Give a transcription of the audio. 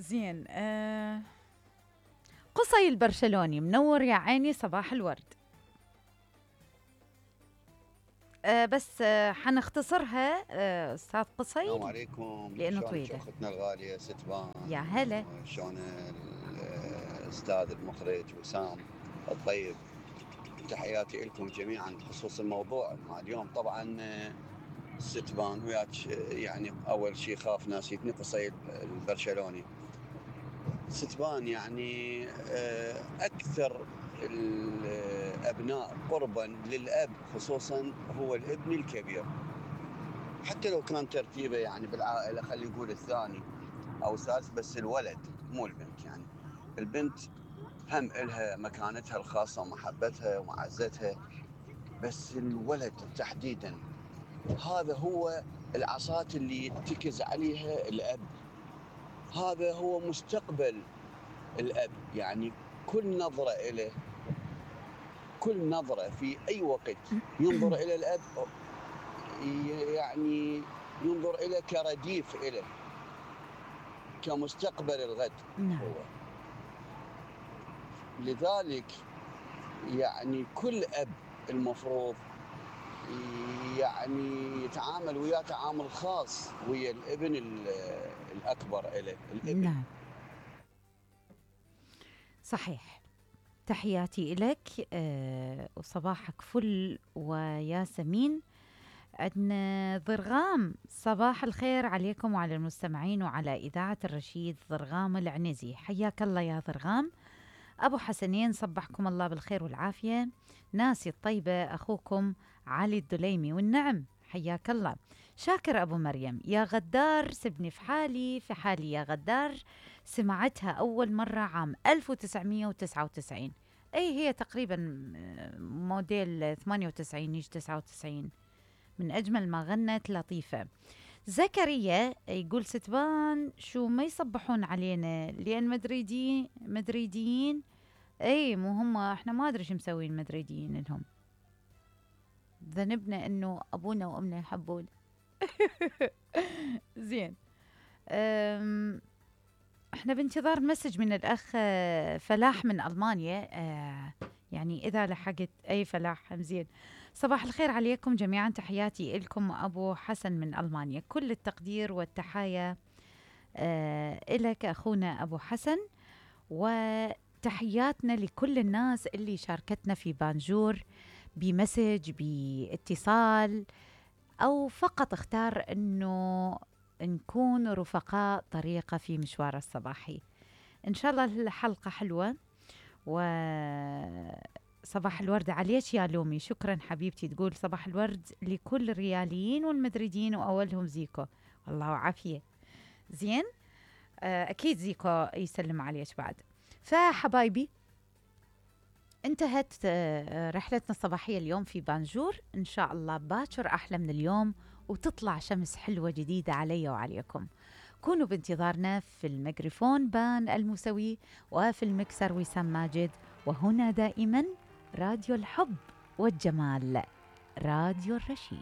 زين. قصي البرشلوني منور يا عيني، صباح الورد. بس حنختصرها استاذ قصي. السلام عليكم، لانه شلونك طويله. اختنا الغاليه ستبان؟ يا هلا. شلون الاستاذ المخرج وسام الطيب؟ تحياتي لكم جميعا بخصوص الموضوع مع اليوم. طبعا ستبان وياك، يعني اول شيء خاف ناسيتني قصي البرشلوني. ستبان يعني اكثر الابناء قربا للاب خصوصا هو الابن الكبير، حتى لو كان ترتيبه يعني بالعائله خلينا نقول الثاني او الثالث، بس الولد مو البنت. يعني البنت هم إلها مكانتها الخاصه ومحبتها ومعزتها، بس الولد تحديدا هذا هو العصا اللي يتكز عليها الاب، هذا هو مستقبل الاب. يعني كل نظره إله، كل نظره في اي وقت ينظر الى الاب يعني ينظر إليه كرديف إله، كمستقبل الغد. هو لذلك يعني كل أب المفروض يعني يتعامل وياه تعامل خاص ويا الابن الأكبر إله، الابن. نعم صحيح. تحياتي لك وصباحك فل وياسمين. عندنا ضرغام، صباح الخير عليكم وعلى المستمعين وعلى إذاعة الرشيد. ضرغام العنزي، حياك الله يا ضرغام. أبو حسنين، صبحكم الله بالخير والعافية. ناسي الطيبة أخوكم علي الدليمي، والنعم حياك الله. شاكر أبو مريم، يا غدار سبني في حالي في حالي يا غدار. سمعتها أول مرة عام 1999، أي هي تقريبا موديل 98 يجي 99. من أجمل ما غنت لطيفة. زكريا يقول ستبان شو ما يصبحون علينا لأن مدريديين. اي مو هم، احنا ما ادري شو مسوين المدريديين لهم. ذنبنا انه ابونا وامنا يحبون. زين. احنا بانتظار مسج من الاخ فلاح من المانيا. يعني اذا لحقت اي فلاح زين. صباح الخير عليكم جميعا، تحياتي لكم ابو حسن من المانيا. كل التقدير والتحايا إلك أخونا أبو حسن، وتحياتنا لكل الناس اللي شاركتنا في بانجور بمسج باتصال، أو فقط اختار أنه نكون رفقاء طريقة في مشوار الصباحي. إن شاء الله الحلقة حلوة. وصباح الورد عليك يا لومي، شكرا حبيبتي. تقول صباح الورد لكل الرياليين والمدريدين وأولهم زيكو، والله عافية. زين. أكيد زيكو يسلم عليك بعد. فحبايبي انتهت رحلتنا الصباحية اليوم في بانجور. إن شاء الله باكر أحلى من اليوم، وتطلع شمس حلوة جديدة علي وعليكم. كونوا بانتظارنا في الميكروفون بان الموسوي، وفي المكسر وسام ماجد، وهنا دائما راديو الحب والجمال، راديو الرشيد.